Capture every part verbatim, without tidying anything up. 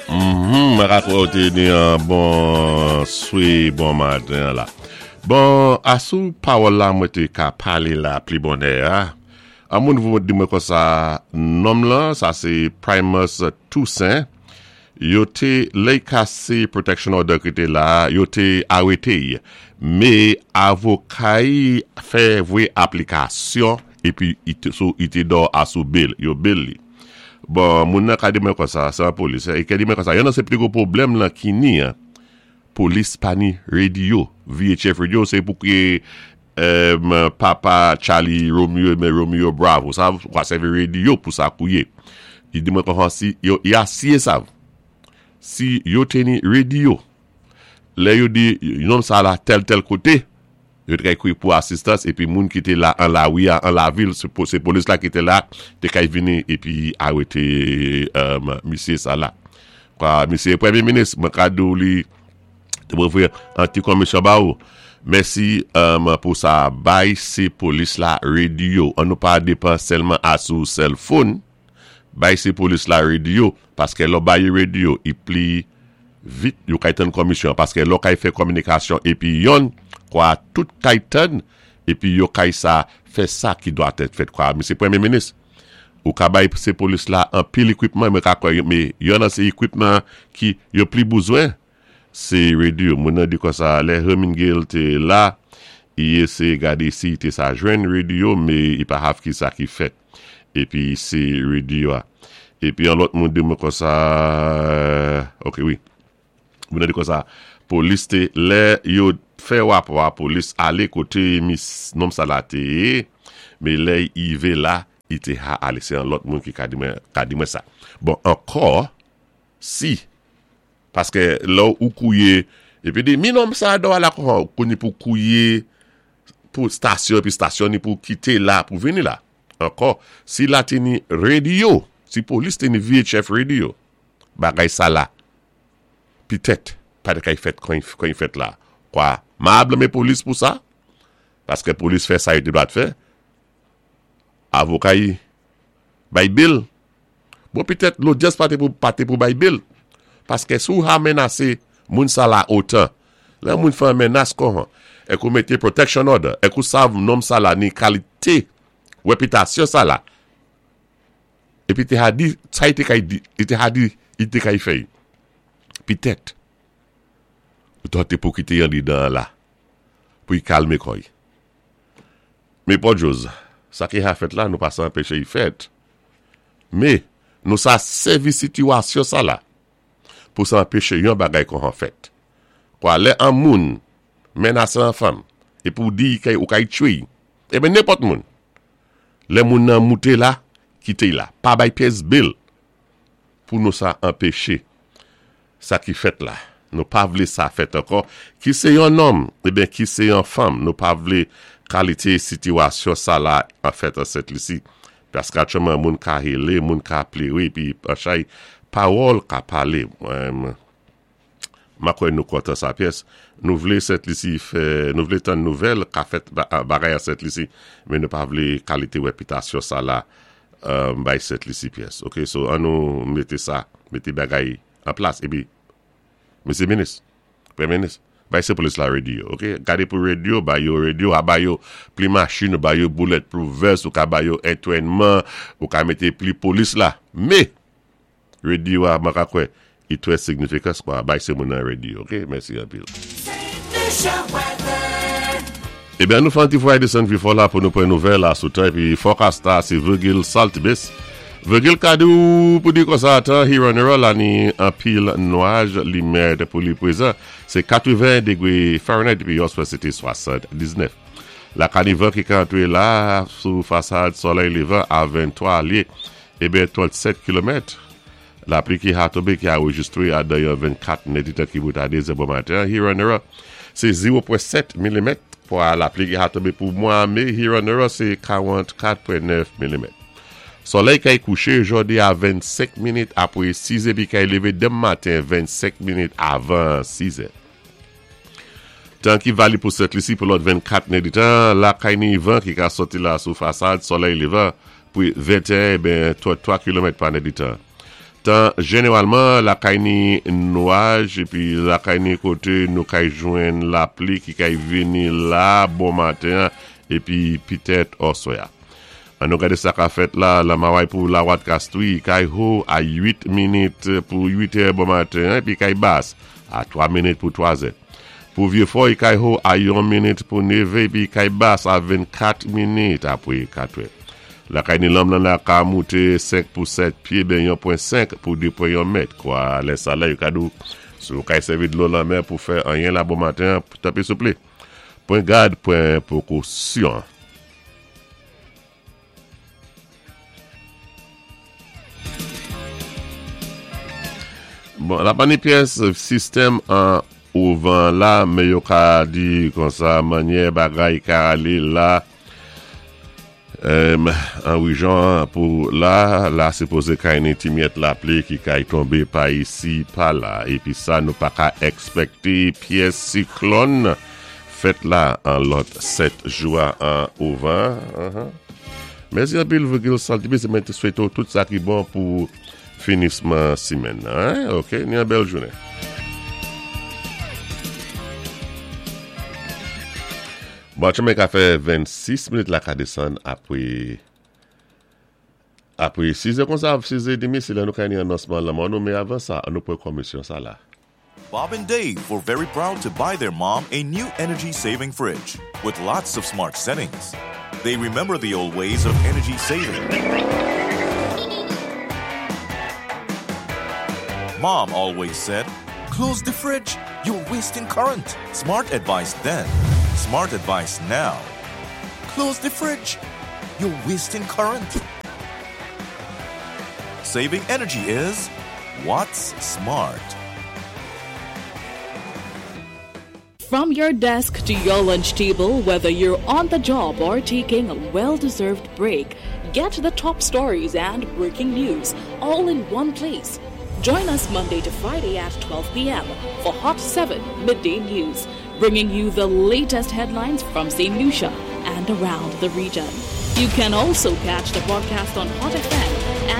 Mhm, mwen ka kwè ou té ni an bon swé, bon maten la. Bon, asou pawòl la mwen té ka palé la pli bonè a. An moun vou di mwen konsa nonm lan, sa sé Primus Toussaint, yo té lè kasé protection order ki té la, yo té arété. Mé avoka-y fè vwé aplikasyon épi i té, sou i té dò asou bail, yo bail li. Bon, moun nan ka di mwen konsa, sé an polis, i ka di mwen konsa, yon nan sé pli gwo pwoblèm lan ki ni, an, polis pa ni radio, V H F radio, sé pou ki um, Papa Charlie Romeo, mé Romeo Bravo, sa kwa sèvi radio pou sa kouyé. I di mwen konsa si, yo, i asié sa, si yo té ni radio, lè yo di, nonm sa la tèl tèl koté, yo té kay kouy pou asistans, épi moun ki té la an la ouya, an la vil, sé po- sé polis la ki té la, té kay vini, épi arété um, misyé sa la. Kwa, misyé Pwémyé Minis, mwen ka di ou li, té mwen fè an ti komisyon ba ou. Mèsi um, pou sa bay sé polis la radio. An nou pa depan sèlman asou cell phone, bay sé polis la radio, paské lò bay radio, i pli vit yo kay tann komisyon, paské lò kay fè kominikasyon, épi yon, kwa tout kay tann, épi yo kay sa, fè sa ki dwa tèt fèt kwa. Misyé Pwémyé Minis, ou ka bay sé polis la an pil equipment, mwen ka kwè, mé yon nan sé equipment ki yo pli bezwen, sé radio. Moun nan di konsa, lè Hermingale té la, i éséyé gadé si té sa jwenn radio, mé i pa hav ki sa ki fèt. Épi sé radio a. Épi an lòt moun di mwen konsa, ok, wi. Moun nan di konsa, polis té, lè yo fè wap wap, polis alé koté mis nonm sa la té, mé lè i vé la, i té ha alé, sé an lòt moun ki ka di mwen, ka di mwen sa. Bon, ankò, si, paské lò ou kouyé, épi di, mi nonm sa do ala kon, kouni pou kouye, pou stasyon, épi stasyon ni pou kité la, pou vini la. Ankò, si la té ni radio, si polis té ni V H F radio, bagay sa la, pitèt, pa té kay fèt kon kon fèt la. Kwa, ma blanmé polis pou sa, paské polis fè sa yo té dwat fè, avoka yi, bay bail. Bon, pitèt, lodyans pa té pou, pa té pou bay bail. Paské sou ha menasé moun sa la otan, lè moun fè menas kon, ek ou mété protection order, ek ou sav nonm sa la ni kalité, réputation sa la, épi té ha di, sa i té kay di, i té ha di, i té kay fè. Pitèt, ou to té pou kité yon li dan la, pou y kalmé koy. Mé pòdjòz, sa ki ha fèt la, nou pa sa anpéché y fèt. Mé, nou sa sèvi sitiyasyon sa la, pou sa anpéché yon bagay kon an fèt. Kwa lè an moun, menasé an fanm, é pou di kay ou kay tchwé, é ben nenpòt moun, lè moun nan mouté la, kité la, pa bay pyès bail, pou nou sa anpéché sa ki fèt la. Nou pa vlé sa fèt ankò, ki sé yon nonm, é ben ki sé yon fanm, nou pa vlé kalité sitiyasyon sa la an fèt an Sent Lisi. Paské atchouman moun ka hélé, moun ka pléwé, pi an chay pawòl ka palé. Um, ma kwè nou kontan sa pyès. Nou vlé Sent Lisi fè, nou vlé tann nouvèl ka fèt bagay a Sent Lisi, mé nou pa vlé kalité réputation sa la um, bay Sent Lisi pyès. Ok, so an nou mété sa, mété bagay an plas, épi, Misyé Minis, Pwémyé Minis, bay sé polis la radio, ok? Gadé pou radio, bay yo radio, a bay yo pli machin, bay yo bulletproof vest, ou ka bay yo entwènman, ou ka mété pli polis la. Mé, radio a mwen ka kwè, i twè signifikans kwa, bay sé moun nan radio, ok? Mèsi anpil. É ben nou fè an ti fwa desann pi fò la pou nou pran nouvèl la sou tan, épi forecast la, sé Virgil Saltibus. Virgil ka di ou pou di konsa tan Huron la ni an pil nwaj li mèd pou li pwézan. Sé katwen dégwé Fahrenheit épi yoswè sé té swasann-diznèf. La ka ni van ki ka antwé la sou fasad solèy lévan a venntwa lyé, é ben trannsèt kilomèt. Lapli ki ha tonbé ki anwéjistwé a dan vennkat nèditan ki bout a dé zè bon maten. Huron sé zewo pwen sèt milimèt. Pou lapli ki ha tonbé pou mwa mé, Huron sé karannkat pwen nèf milimèt. Solèy kay kouché jòdi a vennsenk minit apwé sis épi kay lévé denmen maten vennsenk minit avan sis. Tan ki valib pou Sent Lisi pou lòt vennkat nèditan, la kay ni van ki ka soti la sou fasad solèy lévan pou venteyen ben twa kilomèt pa nèditan. Tan jeneralman lakay ni nwaj épi lakay ni koté nou kay jwenn lapli ki kay vini la bon maten épi pitèt oswè. An nou gadé sa ka fèt la, la Maway pou Lawat Kastwi, kay ho a uit minit pou uit è bon maten épi kay bas a twa minit pou twa zè. Pou Vyé-Fò, kay ho a yon minit pou nèvè épi kay bas a vennkat minit apwé katwè. Lakay ni lanm nan la ka mouté senk pou sèt pyé, ben yon pwen senk pou de pwen yon mèt. Kwa lè sa la yo ka di ou, si ou kay sèvi dlo lanmè pou fè anyen la bon maten, tanpwi souplé. Pwan gad, pwan pwékosyon. Bon, la pa ni pyès sistèm an ouvan la, mé yo ka di konsa mannyè bagay ka alé la euh, an rejyon pou la, la sipozé kay ni ti myèt lapli ki kay tonbé pa isi, pa la. Épi sa nou pa ka èkspèkté pyès siklòn fèt la an lòt sèt jou an ouvan. Uh-huh. Mèsi anpil Virgil Saltibé, sé mwen té swété ou tout sa ki bon pou finisman simèn. Hein? OK, ni yon bèl jounen. Bon, tchanmè ka fè vennsis minit la ka désann apwé apwé sis è konsa, sis è demi, sé lè nou kay ni anonsman lanmò nou, mé avan sa, an nou pwan komisyon sa la. Bob and Dave were very proud to buy their mom a new energy saving fridge with lots of smart settings. They remember the old ways of energy saving. Mom always said, "Close the fridge, you're wasting current." Smart advice then, smart advice now. Close the fridge, you're wasting current. Saving energy is what's smart. From your desk to your lunch table, whether you're on the job or taking a well deserved break, get the top stories and breaking news all in one place. Join us Monday to Friday at twelve p m for Hot seven Midday News, bringing you the latest headlines from Saint Lucia and around the region. You can also catch the broadcast on Hot F M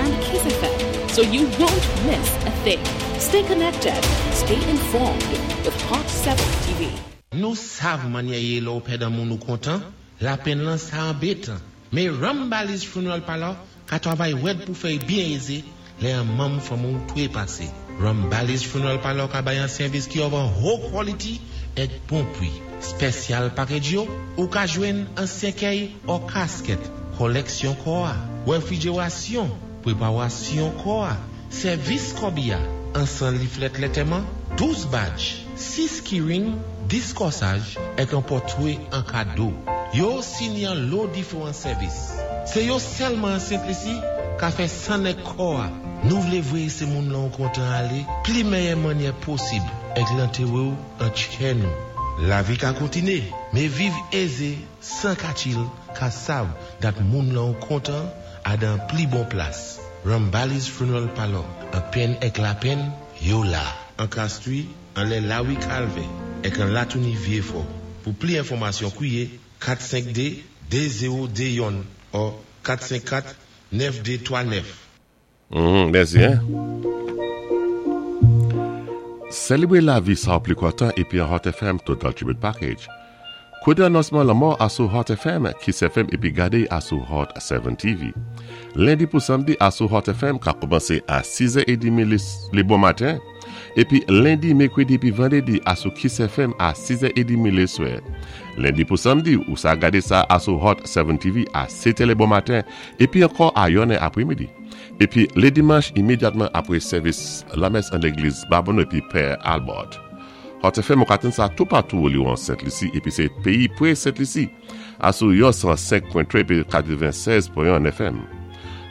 and Kiss F M, so you won't miss a thing. Stay connected, stay informed with Hot seven T V. Nou sav mannyè yé lè ou pèd an moun ou kontan, lapenn lan sa anbétan. Mé Rambali's Funeral Parlor ka twavay wèd pou fè byen ézé lè an manm fanmi ou twé pasé. Rambali's Funeral Parlor ka bay an sèvis ki of an ho quality èk bon pwi. Special package yo, ou ka jwenn an sèkèy ou casket, koleksyon kò a, wefrijerasyon, pweparasyon kò a, sèvis kòbiya, an san leaflet lantèman, douz badge, sis keyring, dis kòsaj, èk an pòtwé an kado. Yo sini an lo diferan sèvis. Sé yo sèlman an Sent Lisi ka fè san èk kò a. Nou vlé vwé sé moun lan kontan alé, pli mèyè mannyè posib, èk lantéwé ou an tchè nou. Lavi ka kontiné, mé viv ézé, san ka chill, ka sav dat moun lan kontan a dan pli bon plas. Rambali's Funeral Parlor, an penn èk lapenn, yo la. An Kastwi, an lè Lawi Kalvè, èk an Latouni Vyéfò. Pou pli enfòmasyon kwiyé kat senk de de zewo de youn ou kat senk kat nèf de twa nèf. Mm, mèsi, hein? Sélébwé lavi sa ou pli kontan épi an Hot F M Total Tribute Package. Kouté anonsman lanmò asou Hot F M, Kiss F M épi gadé asou Hot sept T V. Lendi pou samdi asou Hot F M ka kòmansé a sis è trant lé bon maten. Épi lendi, mèkwédi épi vandédi asou Kiss F M a sis è trant lé swè. Lendi pou samdi ou sa gadé sa asou Hot sept T V a sèt è lé bon maten épi ankò a yonnè apwémidi. Épi lé dimanch imédyatman apwé sèvis lamès an légliz Babonneau épi Pè Albert. Hot F M ou ka tann sa toupatou li an Sent Lisi épi sé péyi pwé Sent Lisi. Asou yon san senk pwen twa épi katwennsèz pwen en F M.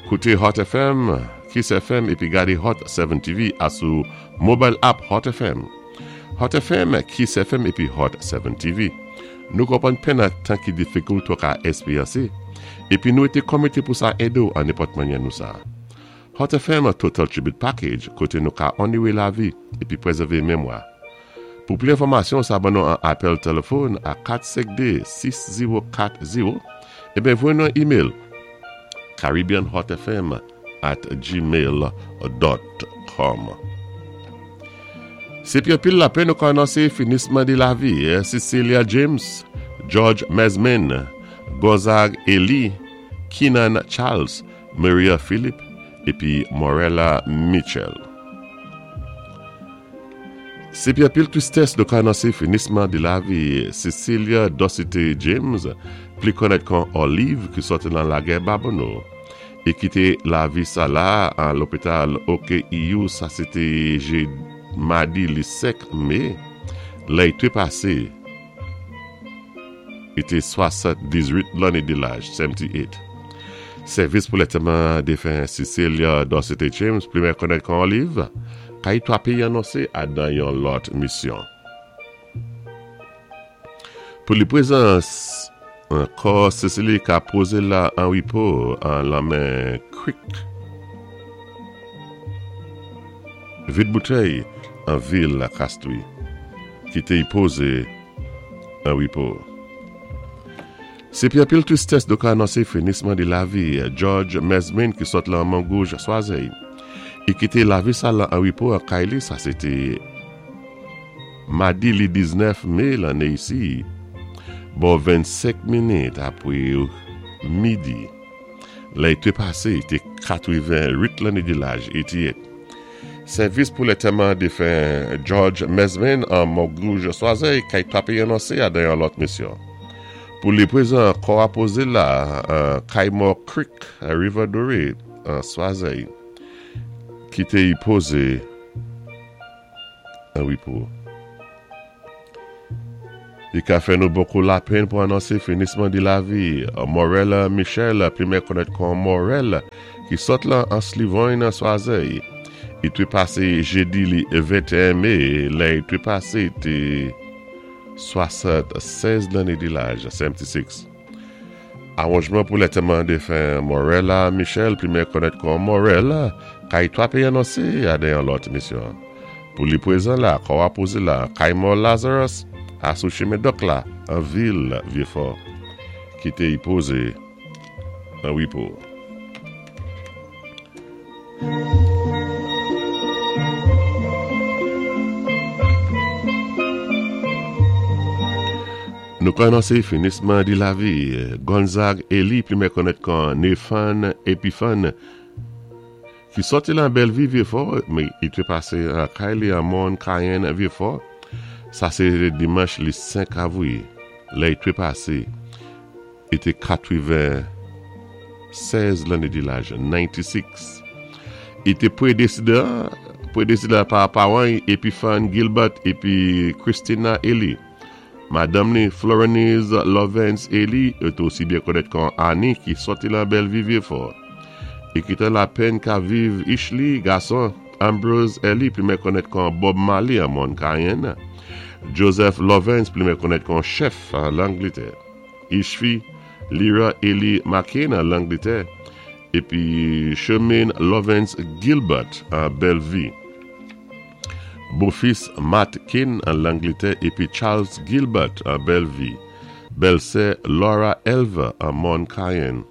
Kouté Hot F M, Kiss F M épi gadé Hot sept T V asou mobile app Hot F M. Hot F M, Kiss F M épi Hot sept T V. Nou konpwann penn an tan ki difikilt ou ka èksperyansé. Épi nou été komité pou sa édé ou an nenpòt mannyè nou sa. Hot F M Total Tribute Package, koté nou ka onowé lavi épi pwézèvé memwa. Pou pli enfòmasyon, sa ban nou an apèl téléfòn a kat senk de, sis zewo kat zewo, ébyen voyé nou an email caribbeanhotfm at gmail dot com. Sé pi anpil lapenn nou ka anonsé finisman di lavi Cecilia James, George Mesmin, Gonzague Eli, Keenan Charles, Maria Philippe épi Morella Mitchell. Sé pi anpil twistès nou ka anonsé finisman di lavi Cecilia Docite James, pli konnèt kon Olive ki sòti lan Lagè Babonneau é kité lavi sala an lopital O K E U, sa sé té madi li senk mé, lè i té pasé i té swasanndizuit lanné di laj, settantuit. Sèvis pou lantèman défen Cecilia Docite James, pli mè konnèt kon Olive, kay twa péyi anonsé adan yon lòt misyon. Pou li prezans, kò Cecilia ka pozé la an wipo an lanmen Creek. Vide boutèy an vil la Castries, ki té y pozé an wipo. Sé pi anpil twistès nou ka anonsé finisman di lavi George Mesmin ki sot lan Mongouge Swazey. I kité lavi sa lan an wipo an kay li, sa sé té madi li diznèf mé lanné isi, bò vennsenk minit apwé midi. Lè i té pasé, i té katwenn-uit lanné di laj, eighty-eight. Sèvis pou lantèman défen George Mesmin an Mongouge Swazey kay twa péyi anonsé adan yon lòt misyon. Pou li prezan kò a pozé la an Kaymor Creek, River Doré, an Swazey, ki té y pozé an wipo. I ka fè nou bokou lapenn pou anonsé finisman di lavi Morella Michel, pli mè konnèt kon Morel, ki sot lan an Slivoin an Swazey. I té pasé jédi li venteyen mé, lè i té pasé té swasannsèz lanné di laj, seventy-six. Awanjman pou lantèman défen Morella Michel, pli mè konnèt kon Morel, kay twa péyi anonsé adan yon lòt misyon. Pou li prezan la, kò a pozé la, Kaymor Lazarus, asou chimen dòk la, an vil Vieux-Fort, ki té y pozé an wipo. Nou ka anonsé finisman di lavi Gonzague Eli, pli mè konnèt kon Nathan Epiphan, ki sòti lan Bellevue Vieux-Fort, mé i té pasé an kay li an Mòn Cayenne Vieux-Fort. Sa sé dimanch li senk avril, lè i té pasé, i té katwennsèz lanné di laj, ninety-six. I té prédésédé, prédésédé pa pawan Epiphan Gilbert épi Christina Eli. Madanm ni Florenise Lovens Eli est osi byen konnèt kon Annie ki sòti lan Bellevue Vieux-Fort. I kité lapenn ka viv Ishli gason Ambrose Eli, pli mè konnèt kon Bob Marley an Mòn Cayenne. Joseph Lovens, pli mè konnèt kon chef an Langletè. Ishfi Lyra Eli McCain an Langletè. Épi Chemin Lovens Gilbert an Bellevue. Beau-fils Matt Kane an Langletè épi Charles Gilbert an Bellevue. Bèlsè Laura Elva an Mòn Cayenne.